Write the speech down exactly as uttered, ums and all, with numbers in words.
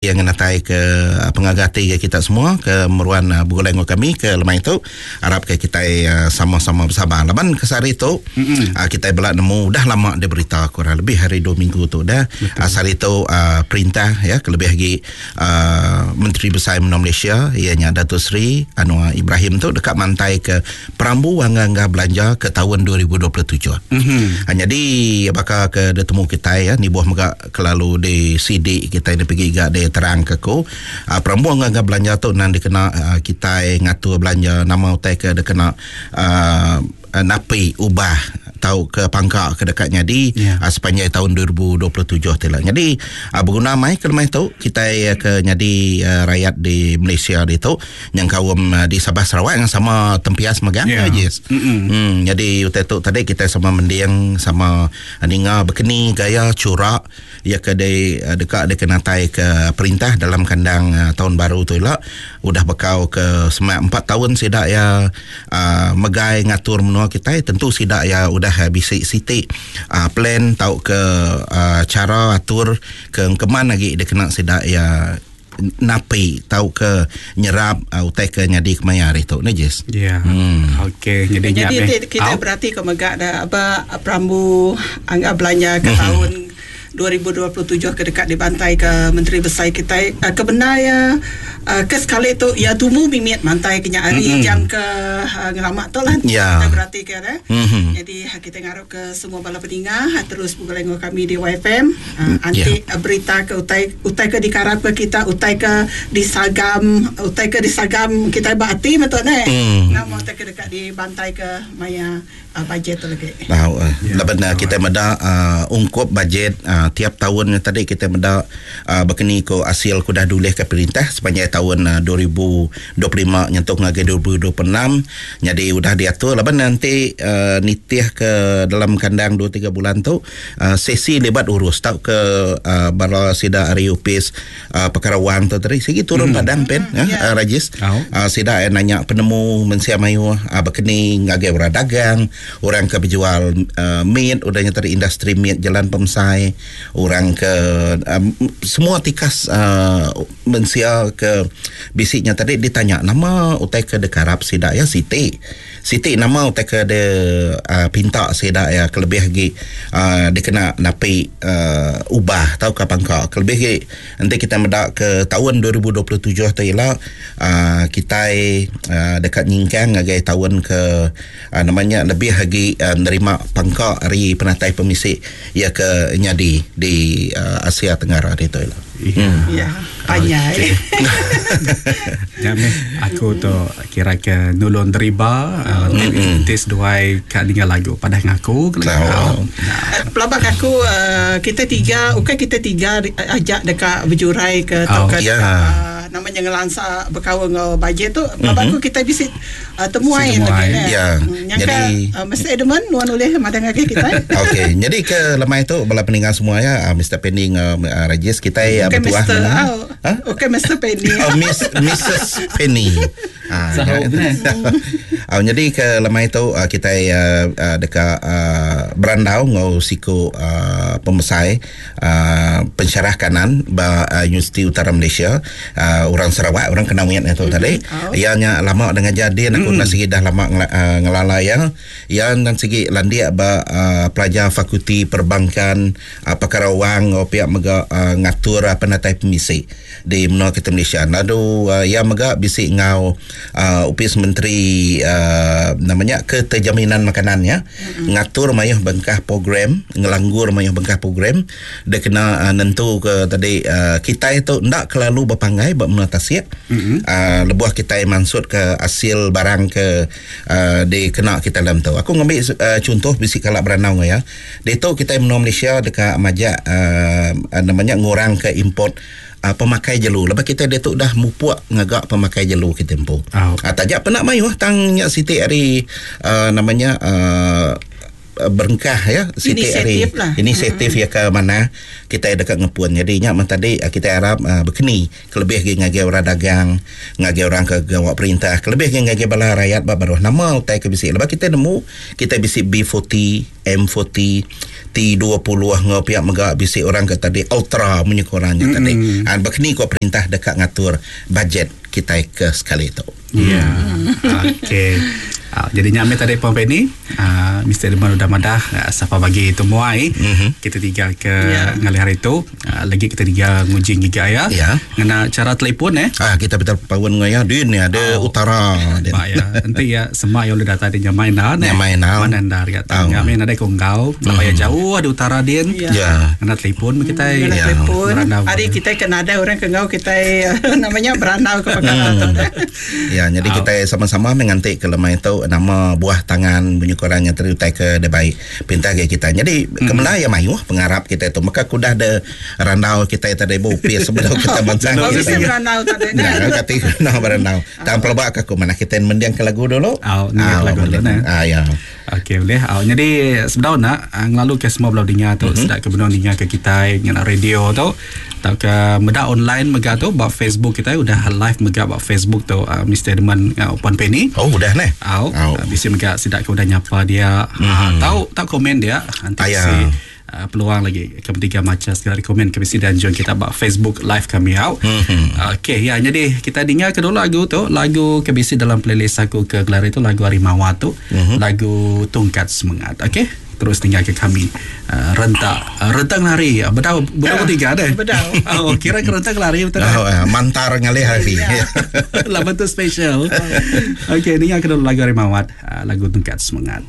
Yang natai ke uh, pengagati ke kita semua ke meruan uh, begulai dengan kami ke lemai tu. Harap ke kita uh, sama-sama bersabar. Laban ke sehari tu uh, kita belak nemu dah lama dia berita kurang lebih hari dua minggu tu dah. Uh, sehari tu uh, perintah ya kelebih lagi uh, Menteri Besar Menua Malaysia ianya Datuk Seri Anwar Ibrahim tu dekat mantai ke perambu angga-angga belanja ke tahun dua ribu dua puluh tujuh. Mm-hmm. Ha, jadi bakal ke detemu kita ya ni buah mega kelalu di sidik kita ni pergi gak dia terang ke ku. Uh, perambu angga-angga belanja tu nan dikena uh, kita ngatur belanja nama utai ke dikena uh, napi ubah tau ke pangkak ke dekat nyadi yeah. uh, sepanjang tahun dua ribu dua puluh tujuh tu lah. Jadi uh, berguna mai ke lemai tu kita uh, ke nyadi uh, rakyat di Malaysia di tu yang kaum uh, di Sabah Sarawak yang sama tempias megang yeah. Yes. Hmm, jadi utai tu tadi kita sama mending sama uh, ninga berkeni gaya curak ya ke de, uh, dekat de kenatai ke perintah dalam kandang uh, tahun baru tu lah udah bekau ke semak empat tahun sidak ya uh, megai ngatur menua kita tentu sidak ya udah bisik sitik uh, plan tau ke uh, cara atur ke keman lagi dia kena sedak ya napi tau ke nyerap uh, utai ke nyadi kemaya hari tu ni Jess. Ya. Yeah. Hmm. Okey, jadi jadi kita oh. berarti ke megak dah apa perambu angga belanja ke mm-hmm. tahun dua ribu dua puluh tujuh ke dekat dibantai ke Menteri Besar kita uh, kebenar ya uh, ke sekali tu ya tumu mimit mantai kenya hari mm-hmm. jam ke uh, ngelamak tu lah yeah. Kita berarti ke eh. Mm-hmm. Jadi kita ngarap ke semua bala peninga terus bergulai dengan kami di Y F M uh, anti yeah. berita ke utai utai ke dikarap ke kita utai ke disagam utai ke disagam kita berarti betul ne mm. Nama utai ke dekat dibantai ke maya uh, bajet tu lagi. Nah, uh, yeah. Laban uh, kita meda uh, ungkup bajet uh, tiap tahun tadi kita meda uh, berkeni ko hasil ku dah dulih ke perintah sepanjang tahun uh, dua ribu dua puluh lima nyentuh ngagai dua ribu dua puluh enam jadi udah diatur laban nanti uh, nitih ke dalam kandang dua tiga bulan tu uh, sesi lebat urus tau ke uh, bala sida ari upis uh, perkara wang tu tadi sigi turun hmm. padang pen hmm. ya yeah. uh, Rajis oh. uh, sida eh, nanya penemu mensia mayuh uh, berkeni ngagai orang dagang orang ke berjual uh, meat udahnya tadi industri meat jalan pemsai orang ke um, semua tikas uh, mensia ke bisiknya tadi ditanya nama utai ke dekarap sidak ya Siti Siti nama utai ke de uh, pinta sidak ya kelebih lagi uh, dikena napi uh, ubah tau ke pangka kelebih lagi nanti kita medak ke tahun dua ribu dua puluh tujuh tu ialah uh, kita uh, dekat nyingkang ngagai tahun ke uh, namanya lebih lagi uh, menerima pangka hari penatai pemisik ya ke nyadi di uh, Asia Tenggara itu lah. Ya, ya panjai. Ya meh aku tu kira ke nulung deriba uh, mm-hmm. tes duai kat dengar lagu padah ngaku kau. Pelabak aku uh, kita tiga, okey kita tiga ajak dekat berjurai ke oh, ke yeah. uh, namanya ngelansa berkawan dengan bajet tu. Pelabak mm-hmm. aku kita bisa uh, temuai lagi ne. Ya. Yang jadi uh, Mister Edmund nuan oleh madang lagi kita. Okey, jadi ke lemai tu bala peninggal semua ya uh, Mister Penny uh, Rajis kita uh, okay, bertuah. Mister Oh. Ha? Okey Mister Penny. Oh, Miss Missus Penny. Ah, uh, jadi ke lemai tu uh, kita uh, uh, dekat uh, berandau ngau siku uh, pembesai uh, pensyarah kanan ba uh, Universiti Utara Malaysia uh, orang Sarawak orang Kenawit itu mm-hmm. tadi. Oh. Ianya lama dengan jadi aku mm-hmm. nak segi dah lama ngela, uh, ngelala yang yang dan segi landia ba uh, pelajar fakulti perbankan uh, perkara wang ngau pihak mega uh, ngatur uh, penatai pemisi di menua kita Malaysia. Lalu uh, yang mega bisik ngau uh, upis menteri uh, namanya keterjaminan makanan ya. Mm-hmm. Ngatur mayuh bengkah program, ngelanggur mayuh bengkah program dia kena uh, nentu ke tadi uh, kita itu ndak kelalu berpangai bab menua tasik. Mm-hmm. Uh, lebuah kita maksud ke hasil barang ke uh, dikena kita dalam tu. Aku ngambil uh, contoh bisik kalak beranau ya. Di tu kita menua Malaysia dekat majak uh, namanya ngurang ke import uh, pemakai jelu. Lepas kita dia tu dah mupuk ngagak pemakai jelu kita empu. Oh. Uh, tajak penak mayuh tang nyak sitik hari uh, namanya uh, berengkah ya sitik hari lah. Inisiatif mm-hmm. ya ke mana kita dekat ngepun. Jadi nyak man tadi kita harap uh, berkeni kelebih lagi ngagai orang dagang, ngagai orang ke gawak perintah, kelebih lagi ngagai bala rakyat bab baruh nama utai ke bisik. Lepas kita nemu kita bisik B empat puluh, M empat puluh, T dua puluh ngau pihak mega bisi orang ke tadi ultra munyi korangnya mm-hmm. tadi. Ah bekeni ko perintah dekat ngatur bajet kita ke sekali tu. Ya. Yeah. Okey. Uh, jadi nyame tadi Puan Penny, uh, Mister Edmund udah madah uh, siapa bagi temuai mm-hmm. kita tiga ke yeah. ngalih hari tu uh, lagi kita tiga nguji giga ya. Yeah. Ngena cara telefon eh. Ah kita betul pawan ngaya din ni ada oh. utara din. Ba ya. Nanti ya semak yang udah datang di nyamai nah. Nyamai nah. Mana ndar ya. Oh. Nyamai ada konggau, mm-hmm. ya jauh ada utara din. Ya. Yeah. Ngena telefon kita. Ngena yeah. telefon. Hari kita kena ada orang kenggau kita namanya beranau ke perkara tu. Ya, jadi oh. kita sama-sama mengantik ke lemai tu nama buah tangan bunyi korangnya terutai ke dia baik pintar ke kita. Jadi mm. kemana ya mayuh pengarap kita itu maka kudah de randau kita tadi bu pi sebelum kita bangsa. Oh, bisa berandau tadi. Nah, kata nah berandau. Tang pelbak aku mana kita mendiang ke lagu dulu. Oh, ni lagu dulu nah. Ah ya. Okey boleh. Oh, jadi sebenar nak ngelalu ke semua belau dengar tu mm-hmm. sedak ke benar dengar ke kita ngena radio tu atau ke meda online mega tu bab Facebook kita udah live mega bab Facebook tu uh, Mister Edmund uh, Puan Penny. Oh udah neh. Oh, oh. Uh, bisa mega sedak ke udah nyapa dia. Mm-hmm. Uh, tahu tak komen dia nanti si uh, peluang lagi ketiga macam segala komen ke mesti dan join kita bab Facebook live kami out. Mm-hmm. Okey ya, jadi kita dengar ke dulu lagu tu, lagu ke bisi dalam playlist aku ke gelar itu lagu Harimau tu, mm-hmm. lagu Tongkat Semangat. Okey. Terus tinggal ke kami uh, rentak uh, rentang lari bedau bedau tiga ada bedau oh kira ke rentang lari betul oh, uh, mantar ngalih hari lah betul special. Okey, dengar ke dulu lagu Harimau uh, lagu Tongkat Semangat.